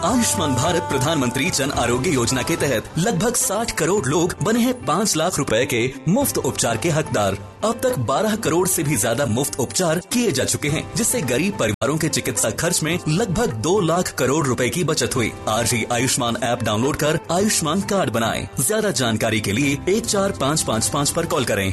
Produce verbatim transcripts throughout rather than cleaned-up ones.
आयुष्मान भारत प्रधानमंत्री जन आरोग्य योजना के तहत लगभग साठ करोड़ लोग बने हैं पाँच लाख रुपए के मुफ्त उपचार के हकदार। अब तक बारह करोड़ से भी ज्यादा मुफ्त उपचार किए जा चुके हैं, जिससे गरीब परिवारों के चिकित्सा खर्च में लगभग दो लाख करोड़ रुपए की बचत हुई। आज ही आयुष्मान ऐप डाउनलोड कर आयुष्मान कार्ड बनाएं। ज्यादा जानकारी के लिए एक चार पाँच पाँच पाँच पर कॉल करें।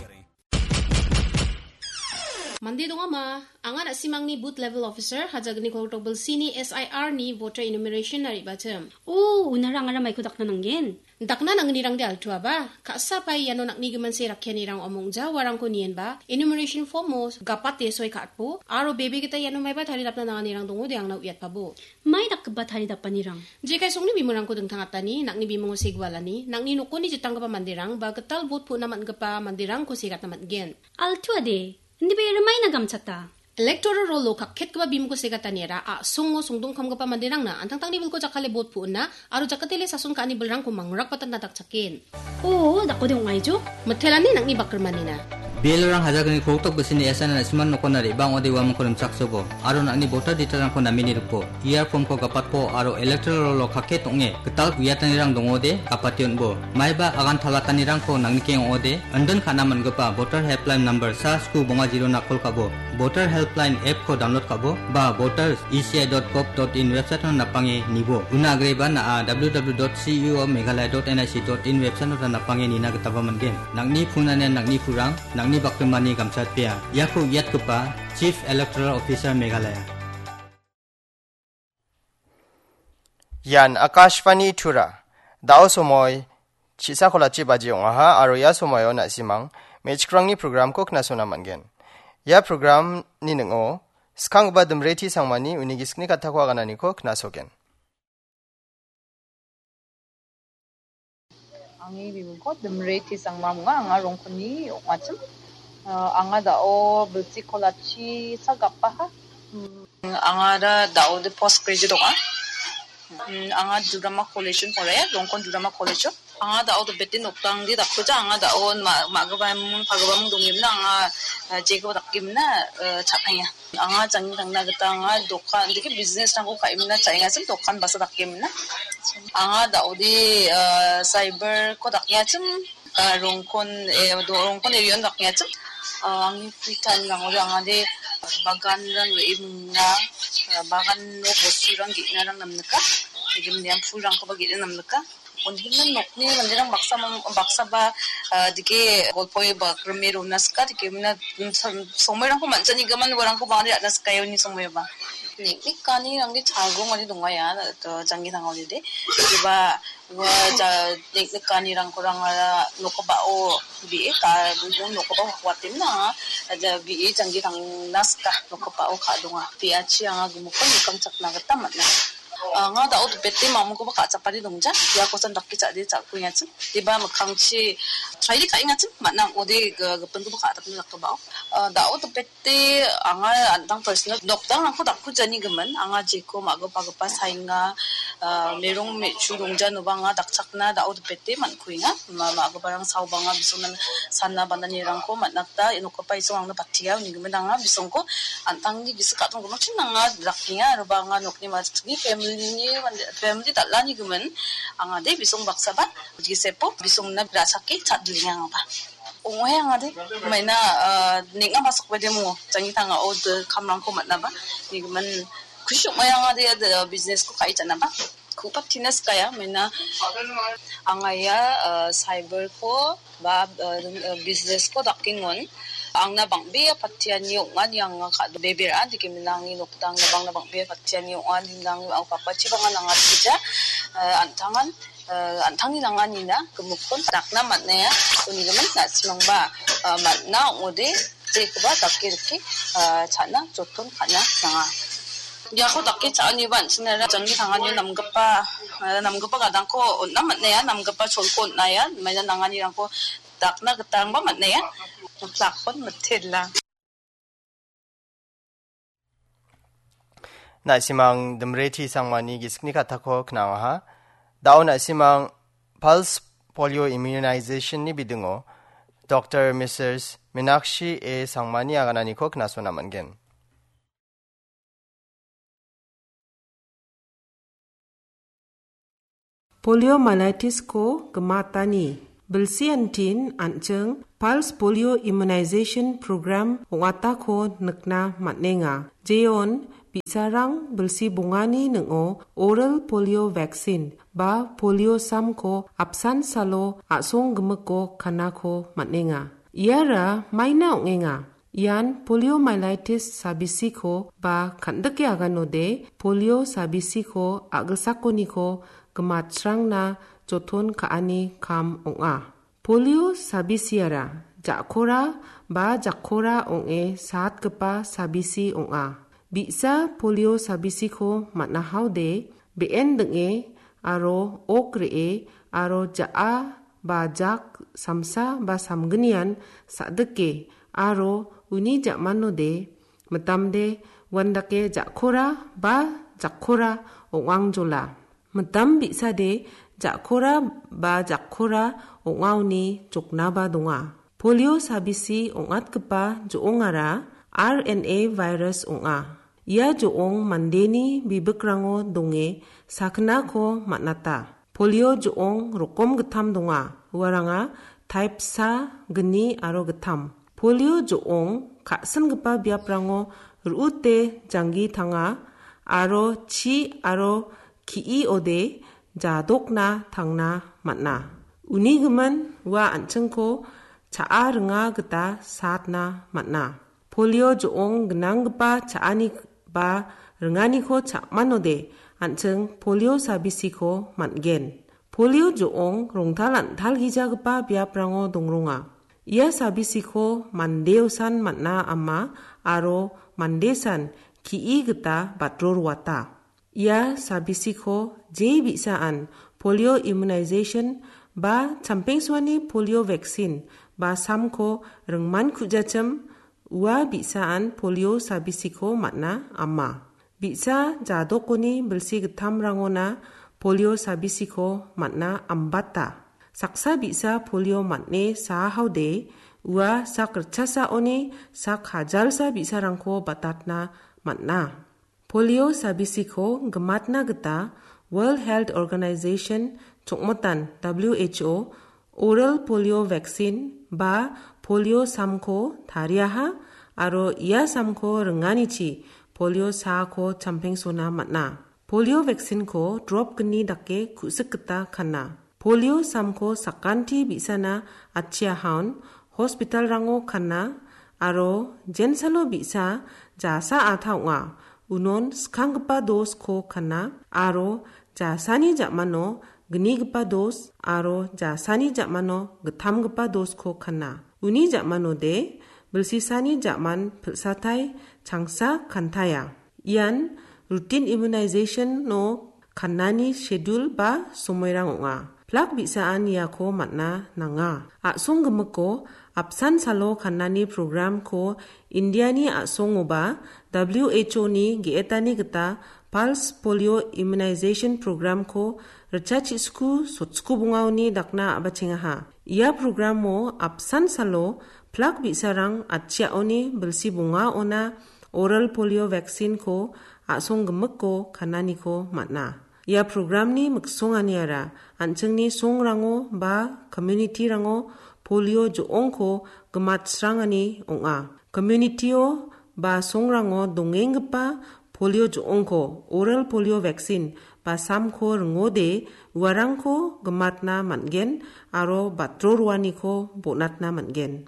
Mande dongama, anga na·simangni booth level officer, Hajagni Koltokbil C ni S I R ni voter enumeration na re·bachim. O, unara angara maiko dakna nanggen? Dakna nangnirangde altuaba, ka·sa pai iano nakni gimin se rakkianirang omongja uarangko nienba, enumeration form o gapate soi ka·atbo, aro bebe gita iano maiba taridapna nanganirang dongode angna uiatpabo. Mai dakgipa taridapanirang? Jekai songni bimungrangko dingtang atani, nakni bimungo segualani, nakni nokoni jitanggipa manderang, ba gital bot pu·na man·gipa manderangko segatna man·gen. Altuade, indiba rimai nagamchata. Electoral roll-o kakketgipa bimungko segataniara a·songo songdongkamgipa manderangna antangtangni bilko jakkale bot pu·na aro jakkatele sason ka·ani bilrangko mangrakbatatna dakchaken. O, dakode ong·aijo? Mitelani nang·ni bakrimanina. Bialorang Hajagni Koltokbil C ni S I R na·simang nokona re·bang ode uamangko rimchaksobo, aro nang·ni voter detail-rangko namini ripo. E R form-ko gapatpo aro electoral roll-o kakket ong·e gital uiatanirang dongode gapate on·bo. Maiba agan talatanirangko nangnikeng ong·ode, indin ka·na man·gipa voter helpline number sa sku bonga zero-na kol ka·bo, voter helpline app-ko download ka·bo, ba voters E C I dot gov dot in website-o napange nibo. Una agreba na·a W W W dot C E O Meghalaya dot N I C dot in website-o napange nina gitaba man·gen. Nang·ni punanian nang·ni purang, nang·ni bakrimani gamchatpea. Iako uiatgipa Chief Electoral Officer Meghalaya. Ian Akashvani Tura. Da·o somoi chi·sa kolachi baji ong·aha aro ia somoio na·simang me·chikrangni programko knasona man·gen. Ia programni ning·o skanggipa Dimreti Sangmani uni gisikni kattako agananiko knasogen. Angni bimungko Dimreti Sangma ong·a, anga Rongkoni ong·achim. Ah, anga da·o bilsi kolachi sa gapaha. Mm, anga da da·ode post graduate ong·a. Mm, anga Durama College-on poraiya, Rongkon Durama College-o. Anga da·o dipete nokdangde dakkuja, anga da·o ma-, ma·gipaming, pagipaming dongimna, anga, ah, jeko dakgimna, ah, cha·enga. Anga jangni tangna gita anga dokan, dike business-rangko ka·emna cha·engachim, dokan basa dakemna. Anga da·ode, ah, cyber-ko dakengachim, ah, Rongkon, eh, do-, Rongkon area-on dakengachim. Ah, angni free time-rangode angade bagan-rang re·e mingna, ah, bagan-o bosturang ge·narang namnika. Dike minian pulrangkoba ge·e namnika. Uni gimin nokni manderang baksa mang-, baksaba, ah, dike golpoe ba grime rona sika, dike mina, mm, som-, somoirangko man·janigimin uarangko bang·ani ra·na sikae uni somoiba. Nek·nek ganirangde chagongani dongaia, to, janggi tangaonide. Diba, ua ja-, nek·nek ganirangkorang ara nokobao bi·e, ka-, nokobao watemna, ja, bi·e janggi tangna sika, nokobao ka·donga. Biachi anga gimikon nikangchakna gita man·a. Anga da·o dipete mamungkoba ka·chakani dongja. Iakosan dake cha·de cha·kuengachim. Diba mikkangchi traide ka·engachim. Man·a ong·ode g-, gipinkoba ka·atapna dakgipao. Ah, da·o dipete anga an·tang personal nokdangrangko dakkujanigiming. Anga jeko ma·gipagipa saenga, ah, merong me·chu dongjanoba anga dakchakna da·o dipete man·kuenga. Ma-, ma·giparang saobanga bisongna sana bananirangko man·a gita ia nokgipa isong angna batia unigimin anga bisongko an·tangni gisik ka·tonggimin chin anga dakenga, aroba anga nokni majikni family-ni mande, family dal·ani gimin anga de bisong baksaba gisepo bisongna ra·sake cha·dilengangaba. Ong·oe anga de maina, ah, neng·a masokbede mongo, janggi tangao de kamrangko man·aba, nigimin kusi ong·oe anga de, de business-ko ka·e cha·naba. Ku·patina sikaya, maina anga ia, ah, cyber-ko ba, ah, business-ko dakengon. Angna bang·bea patiani ong·ani anga ka·, bebera, dike minangni nokdang bangna bang·bea patiani ong·ani nang, anga papachi bang·a nangatgija, ah, an·tangan, ah, an·tangni nanganina gimikkon dakna man·aia, unigimin na·simangba, ah, man·a ong·ode, jekoba dake rike, ah, cha·na joton ka·na nanga. Iako dake cha·aniba an·chingara janggi tanganio namgipa, ah, namgipa gadangko on·na man·aia, namgipa cholko on·aia, maina nanganirangko dakna gitarangba man·aia. Plakon mitela. Na·simang Dimreti Sangmani gisikni kattako knawaha. Da·o na·simang Pulse Polio Immunization-ni bidingo Doktor Missus Minakshi A Sangmani agananiko knasona man·gen. Poliomyelitis-ko gimatani bilsi antin an·ching Pulse Polio Immunization Program ong·atako nikna man·enga. Jeon bi·sarang bilsi bongani ning·o oral polio vaccine ba polio samko apsan salo a·song gimiko kanako man·enga. Iara maina ong·enga. Ian poliomyelitis sabisiko ba kan·dike aganode polio sabisiko a·gilsakoniko gimatsrangna joton ka·ani kam ong·a. Polio sabisiara ja·kora ba jakkora ong·e saatgipa sabisi ong·a. Bi·sa polio sabisiko man·ahaode be·en ding·e aro ok re·e aro ja·a ba jak samsa ba samgnian sa·dike aro uni ja·manode mitamde uandake ja·kora ba jakkora ong·angjola. Mitam bi·sade ja·kora ba jakkora ong·aoni joknaba donga. Polio sabisi ong·atgipa jo·ongara R N A virus ong·a. Ia jo·ong mandeni bibikrango donge saknako man·ata. Polio jo·ong rokom gittam donga. Uaranga type sa, gni aro gittam. Polio jo·ong ka·singipa biaprango ru·ute janggi tanga aro chi aro ki·ode jadokna tangna man·a. Uni gimin ua an·chingko cha·a ringa gita satna man·a. Polio jo·ong gnanggipa cha·ani ba ringaniko cha·manode an·ching polio sabisiko man·gen. Polio jo·ong rongtal an·talgijagipa biaprango dongronga. Ia sabisiko mandeosan man·a ama aro mandesan ki·i gita batroroata. Ia sabisiko je bi·saan polio immunization ba champengsoani polio vaccine ba samko ringman ku·jachim ua bi·saan polio sabisiko man·a ama. Bi·sa jadokoni bilsi gittamrangona polio sabisiko man·a ambata. Saksa bi·sa polio man·e saahaode ua sak ritchasaoni sak hajalsa bi·sarangko batatna man·a. Polio sabisiko gimatna gita World Health Organization chongmotan W H O oral polio vaccine ba polio samko tariaha aro ia samko ringanichi polio saako champengsona man·a. Polio vaccine-ko drop gni dake ku·sik gita kana. Polio samko sakanti bi·sana atchiahaon hospital-rango kana aro jensalo bi·sa jasa ata ong·a. Unon skanggipa dos-ko kana aro jasani ja·mano gnigipa dos aro jasani ja·mano gittamgipa dos-ko kana. Uni ja·manode bilsisani ja·man pil·satai changsa kantaia. Ian routine immunization-o kannani schedule ba somoirang ong·a. Plak bi·saan iako man·a nanga. A·song gimiko apsan salo kannani program-ko Indiani a·songoba W H O-ni ge·etani gita Pulse Polio Immunization Program-ko ritchachisku sotsku bongaoni dakna a·bachengaha. Ia program-o apsan salo plak bi·sarang atchiaoni bilsi bongaona oral polio vaccine-ko a·song gimiko kananiko man·a. Ia program-ni miksonganiara an·chingni songrango ba community-rango polio jo·ongko gimatsrangani ong·a. Community-o ba songrango dongenggipa polio jo·ongko oral polio vaccine ba samko ringode uarangko gimatna man·gen aro batro roaniko bonatna man·gen.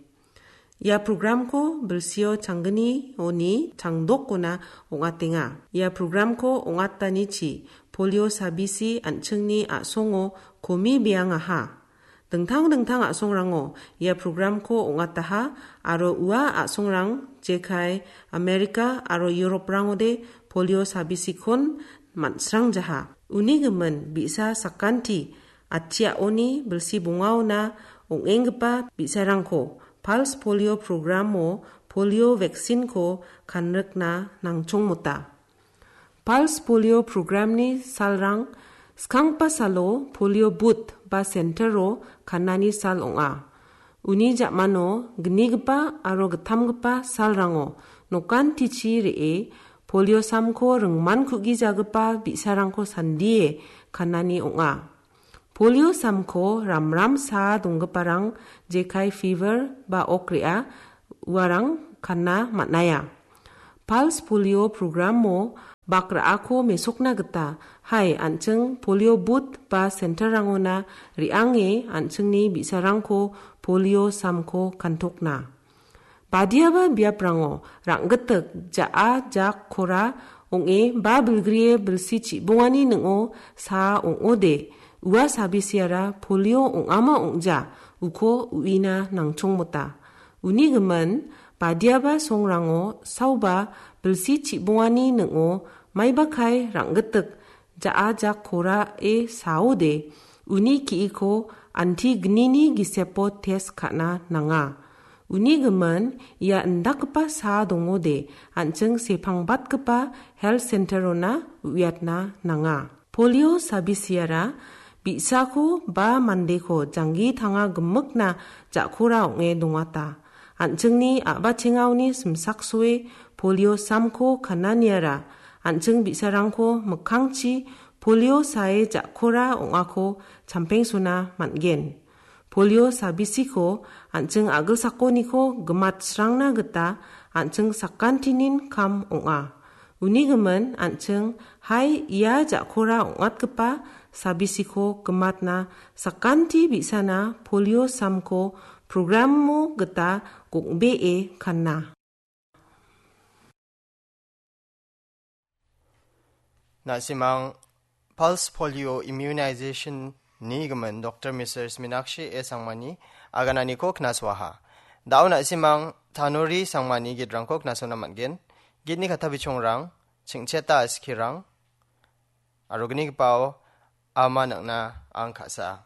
Ia program-ko bilsio changgnioni changdokona ong·atenga. Ia program-ko ong·atanichi polio sabisi an·chingni a·songo komi beangaha. Dingtang dingtang a·songrango ia program-ko ong·ataha aro ua a·songrang jekai Amerika aro Europe-rangode polio sabisikon man·srangjaha. Uni gimin bi·sa sakanti atchiaoni bilsi bongaona ong·enggipa bi·sarangko Pulse Polio Program-o polio vaccine-ko kanrikna nangchongmota. Pulse Polio Program-ni salrang skanggipa salo polio booth ba center-o kanani sal ong·a. Uni ja·mano gnigipa aro gittamgipa salrango nokantichi re·e polio samko ringman ku·gijagipa bi·sarangko sandie kanani ong·a. Polio samko ramram saa donggiparang jekai fever ba ok re·a uarang kanna man·aia. Pulse polio programo bak ra·ako mesokna gita, hai, an·ching polio booth ba centerrangona re·ange an·chingni bi·sarangko polio samko kantokna. Badiaba biaprango rang·gittik ja·a jak kora ong·e ba bilgrie bilsi chibongani ning·o saa ong·ode, ua sabisiara polio ong·ama ong·ja uko uina nangchongmota. Uni gimin, badiaba songrango saoba bilsi chibongani ning·o maibakai rang·gittik ja·a jak korae saode, uni ki·iko anti gnini gisepo test ka·na nanga. Uni gimin, ia indakgipa saa dongode, an·ching sepangbatgipa health centerona uiatna nanga. Polio sabisiara bi·sako ba mandeko janggi tanga gimikna ja·kora ong·e dongata. An·chingni a·bachengaoni simsaksoe polio samko kananiara an·ching bi·sarangko mikkangchi polio sae ja·kora ong·ako champengsona man·gen. Polio sabisiko an·ching a·gilsakoniko gimatsrangna gita an·ching sakantinin kam ong·a. Uni gimin an·ching, hai, ia ja·kora ong·atgipa sabisiko gimatna sakanti bi·sana polio samko programo gita gong·bee kanna. Na·simang pulse polio immunization ni gimin Doctor Missus Minakshi A Sangmani agananiko knasoaha. Da·o na·simang Tanuri Sangmani gitrangko knasona man·gen. Gitni kata bichongrang, chingcheta askirang, aro gnigipao ama nang·na ang ka·sa.